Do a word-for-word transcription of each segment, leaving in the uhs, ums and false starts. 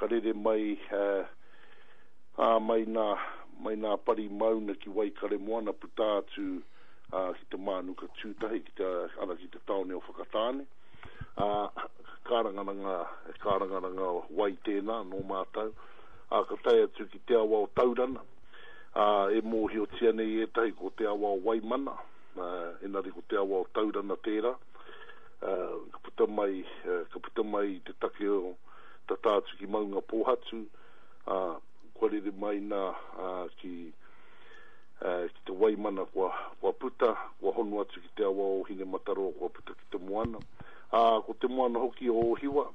ka rere mai ā, mai nā, mai nā pari mauna ki Waikaremoana puta atu ā, ki te Mānuka Tūtahi, ki te, ara ki te tāone o Whakatāne. Ā, kārangaranga, kārangaranga wai tēnā nō mātou. Ā, ka tae atu ki te awa o Taurana, ā, e mōhiotia nei ētahi ko te awa o Waimana, ā, engari ko te awa o Taurana tērā. Ā, ka puta mai, ka puta mai i te take o tata atu ki Maungapōhatu, ā, kua rere mai nā, ā, ki, ā, ki te Waimana kua, kua puta, kua hono atu ki te awa o Hinemataroa kua puta ki te moana. Ā, ko te moana hoki o Ōhiwa,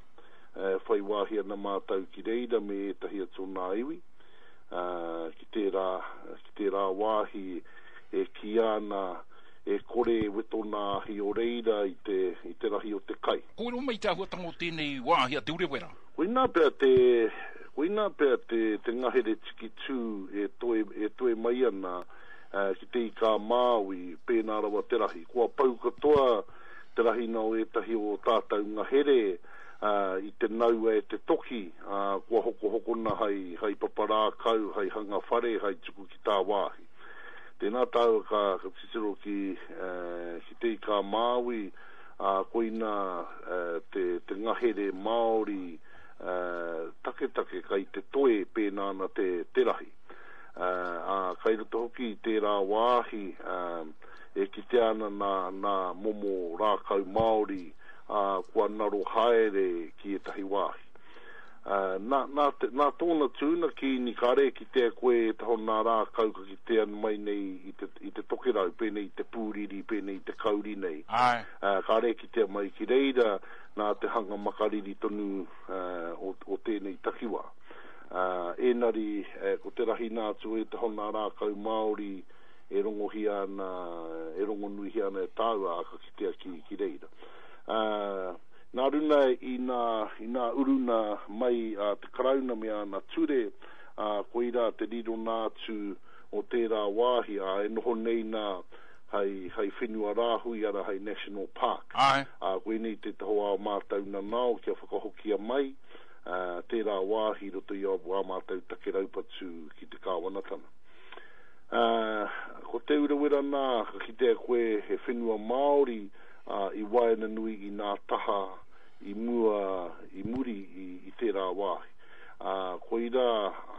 e whai wāhi ana mātou ki reira me ētahi atu o nā iwi, ā, ki tērā, ki tērā wāhi e kīia ana e kore e weto nā ahi o reira i te, i te rahi o te kai. Kōrero mai te āhuatanga o tēnei wāhi a Te Urewera. Koinā pea te, koinā pea te, te ngahere tikitū e toe, e toe mai ana ki Te Ika-a-Māui, pēnā rawa te rahi. Kua pau katoa te rahina o ētahi o ō tātou ngahere i te naua e te toki, ā, kua hokohokona hai, hai papa rākau, hai hanga whare, hai tuku ki tāwāhi. Tēnā tāua ka, ka titiro ki, ki Te Ika-a-Māui, ā, koina te, te ngahere Māori taketake kai te toe pēnā ana te, te rahi. Ā, kai roto hoki i tērā wāhi, e kitea ana nā, nā momo rākau Māori, ā, kua naro haere ki ētahi wāhi. Ā, nā, nā te, nā tōna tūna kīni kāre e kitea koe ētahi o nā rākau ka kitea mai nei i te, i te tokerau, pēnei i te pūriri, pēnei i te kauri nei. Āe. Ā, kāre e kitea mai ki reira nā te hanga makariri tonu, ā, o, o tēnei takiwā. Ā, ēnari, ko te rahina atu o ētahi o nā rākau Māori, e rongohia ana, e rongonuihia ana e tāua, ā, ka kitea ki, ki reira. Ā, nā runa i nā, i nā uruna mai a te Karauna me āna ture, ā, koirā te rirona atu o tērā wāhi, ā, e noho nei nā hei, hei whenua rāhui, arā, hei National Park. Āe. Ā, koinei tētahi o ā mātou nanao kia whakahokia mai, ā, tērā wāhi i roto i ā mātou take raupatu ki te kāwanatanga. Ā, ko Te Urewera nā, ka kitea koe he whenua Māori, ā, i waenganui i nā taha i mua, i muri i, i tērā wāhi. Ā, koirā,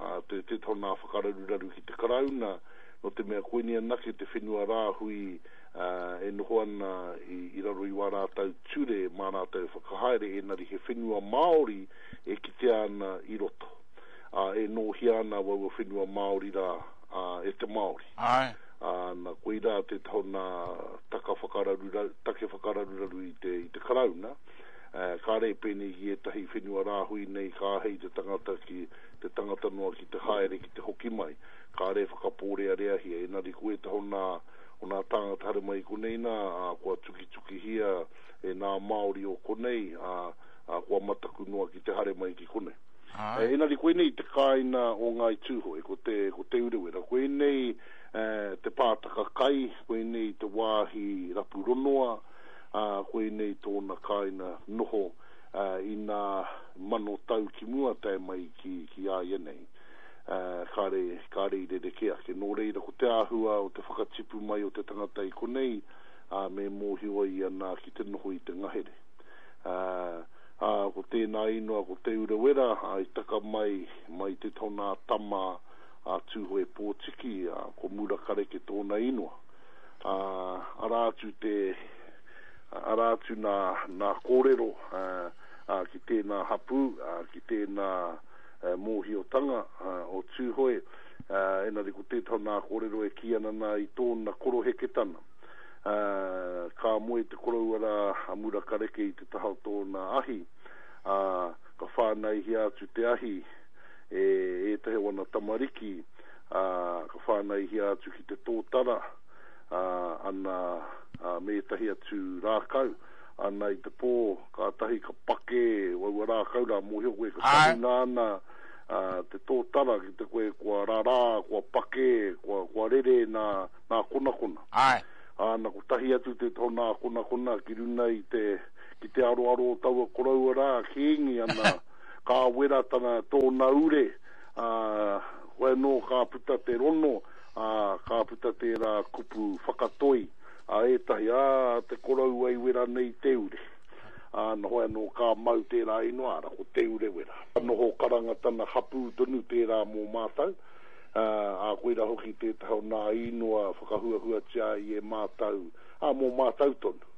ā, te, tētahi o nā whakararuraru ki te Karauna, nō te mea koinei anake te whenua rāhui, ā, e noho ana i, i raro i wā rātou ture mā rātou e whakahaere, ēnari he whenua Māori e kitea ana i roto. Ā, e nōhia ana waua whenua Māori rā, ā, e te Māori. Āe. Ā, na, koirā tētahi o nā taka whakararuraru, take whakararuraru i te, i te Karauna, ā, kāre e pēnei ki ētahi whenua rāhui nei ka āhei te tangata ki, te tangata noa ki te haere, ki te hoki mai, kāre e whakapōreareahia, engari ko ētahi o nā, o nā tāngata haere mai i konei nā, ā, kua tukitukihia e nā Māori o konei, ā, ā, kua mataku noa ki te haere mai ki konei. Āe. Engari koinei te kāina o Ngāi Tūhoe, ko te, ko Te Urewera. Koinei te pātaka kai, koinei te wāhi rapu ronoa, ā, koinei tōna kāina noho i nā mano tau ki mua tae mai ki, ki a ia nei. Kāre, kāre i rerekē ake. Nō reira, ko te āhua o te whakatipu mai o te tangata i konei, ā, me mōhio ai ia nā ki te noho i te ngahere. Ā, Ā, ko tēnā inoa ko Te Urewera, ā, i taka mai, mai te tōnā tama a Tūhoe Pōtiki, ā, ko Murakareke tōna inoa. Ā, arā atu te, arā atu nā, nā kōrero, ā, ā, ki tēnā hapū, ā, ki tēnā mōhiotanga, ā, o Tūhoe, ā, engari ko tētahi o nā kōrero e kī ana nā i tōna koroheketana. Ā, ka moe te koroua rā a Murakareke i te taha o tōna ahi, ā, ka whānaihia atu te ahi e ētahi o ana tamariki, ā, ka whānaihia atu ki te tōtara, ā, ana, ā, me ētahi atu rākau, ana i te pō, kātahi ka pakē aua rākau rā, mōhio koe ka tahuna ana, ā, te tōtara ki te koe kua rarā, kua pakē, kua, kua rere nā, nā konakona. Āe. Ā, na kotahi atu te tō nā konakona ki runa i te, ki te aroaro o taua koroua rā, kīngi ana, Ka wera tana tōna ure, ā, koe anō ka puta te rono, ā, ka puta tērā kupu whakatoi a ētahi, ā, te koroua i wera nei te ure. Ā, na hoi anō ka mau tērā inoa, ara, ko Te Urewera. Ka noho karanga tana hapū tonu tērā mō mātou, ā, ā, koirā hoki tētahi o nā inoa whakahuahuatia ai e mātou, ā, mō mātou tonu,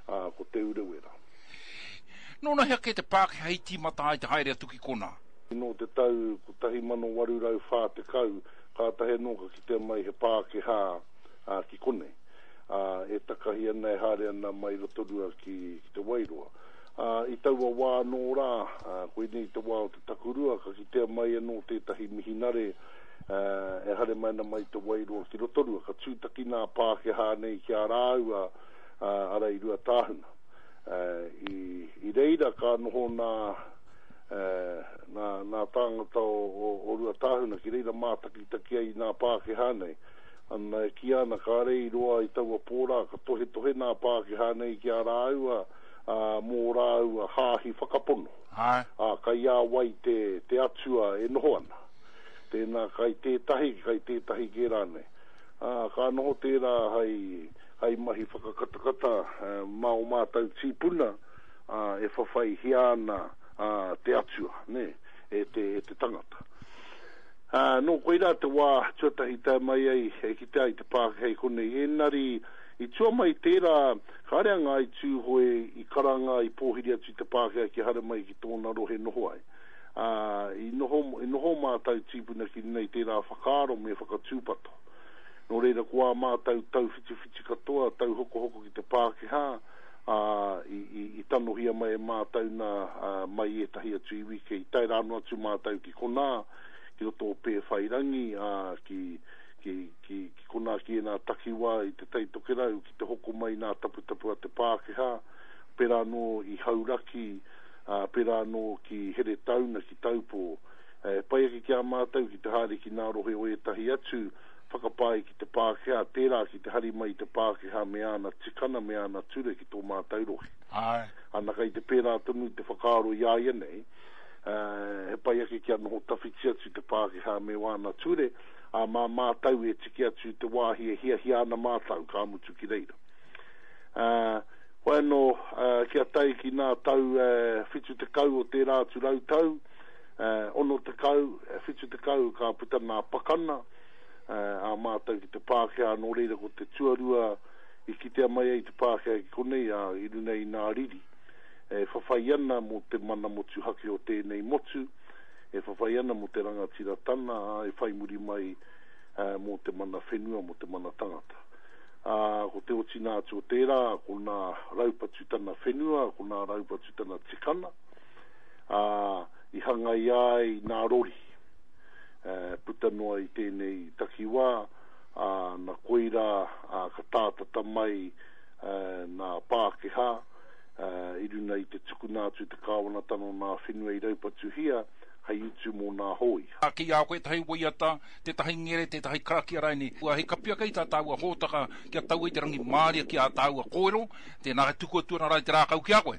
ā, ko Te Urewera. Nōnahea kē te Pākehā i tīmata ai te haere atu ki konā? Nō te tau kotahi mano waru rau whā tekau, kātahi anō ka kitea mai he Pākehā ki konei, ā, e takahi ana, e haere ana mai Rotorua ki, ki Te Wairoa. Ā, i taua wā anō rā, ā, koinei te wā o te takurua, ka kitea mai anō tētahi mihinare, ā, e haere mai ana mai Te Wairoa ki Rotorua. Ka tūtaki nā Pākehā nei ki a rāua, ā, ara i Ruatāhuna. Ā, i, i reira ka noho nā, ā, nā, nā tāngata o, o, o Ruatāhuna ki reira mātakitaki ai i nā Pākehā nei. Ana, e kīia ana kāre i roa i taua pō rā, ka tohetohe nā Pākehā nei ki a rāua, ā, mō rāua hāhi whakapono. Āe. Ā, kai a wai te, te Atua e noho ana? Tēnā kai tētahi, kai tētahi kē rānei. Ā, ka noho tērā hai, hai mahi whakakatakata mā ō mātau tīpuna, ā, e whawhaihia ana, ā, te Atua, nē, e te, e te tangata. Ā, nō koirā te wā tuatahi tae mai ai e kitea ai te Pākehā i konei. Ēnari, i tua mai tērā, kāre a Ngāi Tūhoe i karanga, i pōhiri atu i te Pākehā kia haere mai ki tōna rohe noho ai. Ā, i noho, i noho mātau tīpuna ki runga i tērā whakaaro me whakatūpato. Nō reira, ko ā mātau tauwhitiwhiti katoa, tauhokohoko ki te Pākehā, ā, i, i, i tanohia mai e mātau nā, ā, mai ētahi atu iwi kei tae rānō atu mātau ki konā, ki roto o Pēwhairangi, ā, ki, ki, ki, ki konā ki ēnā takiwā i Te Tai Tokerau ki te hoko mai nā taputapu a te Pākehā, pērā anō i Hauraki, ā, pērā anō ki Heretauna, ki Taupō. E pai ake ki a mātou ki te haere ki nā rohe o ētahi atu whakapae ki te Pākehā, tērā ki te hari mai i te Pākehā me āna tikana, me āna ture ki tō mātou rohe. Āe. Ana kai te pērā tonu te whakaaro i āianei, he pai ake kia noho tawhiti atu te Pākehā me wāna ture, ā, mā mātau e tiki atu te wāhi e hiahia ana mātau, ka mutu ki reira. Ā, hoi anō, kia tae ki nā tau whitu tekau o tērā atu rau tau, ono tekau, whitu tekau ka puta nā pakana, ā mātau ki te Pākehā, nō reira ko te tuarua i kitea mai ai te Pākehā ki konei, ā, i runa i nā riri. E whawhai ana mō te mana motuhake o tēnei motu, e whawhai ana mō te rangatiratana, ā, e whai muri mai mō te mana whenua, mō te mana tangata. Ā, ko te otinga atu o tērā, ko nā raupatu tana whenua, ko nā raupatu tana tikana, ā, i hangaia ai nā rori, puta noa i tēnei takiwā, ā, na koirā, ā, ka tātata mai nā Pākehā, i runa i te tukuna atu te kāwanatanga o nā whenua i raupatuhia hei utu mō nā hōia. Kei a koe ētahi waiata, tētahi ngere, tētahi karakia rainei. Hei kapi ake i tā tāua hōtaka kia tau ai te rangimārie ki ā tāua kōrero, tēnā e tuku atu ana rā i te rākau ki a koe.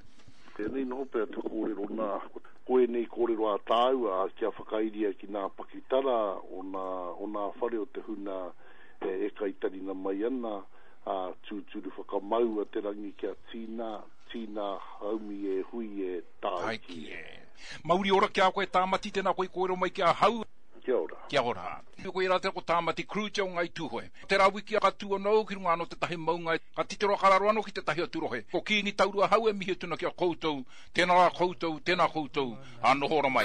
Tēnei noho pea te kōrero nā, ko ēnei kōrero ā tāua kia whakairia ki nā pakitara o nā, o nā whare o te huna e kaitarina mai ana, ā, tūturu whakamaua te rangi kia tīna, tīna haumi e hui e tāiki e. Mauri ora ki a koe Tāmati, tēnā koe i kōrero mai ki ahau. Kia ora. Kia ora. Koe rā tērā ko Tāmati Kruger o Ngāi Tūhoe. Tērā wiki ka tū anō au ki runga anō tētahi maunga, ka titiro ka raro anō ki tētahi atu rohe. Ko Kīngi Taurua ahau e mihi atu ana ki a koutou, tēnā rā koutou, tēnā koutou, ā noho ora mai.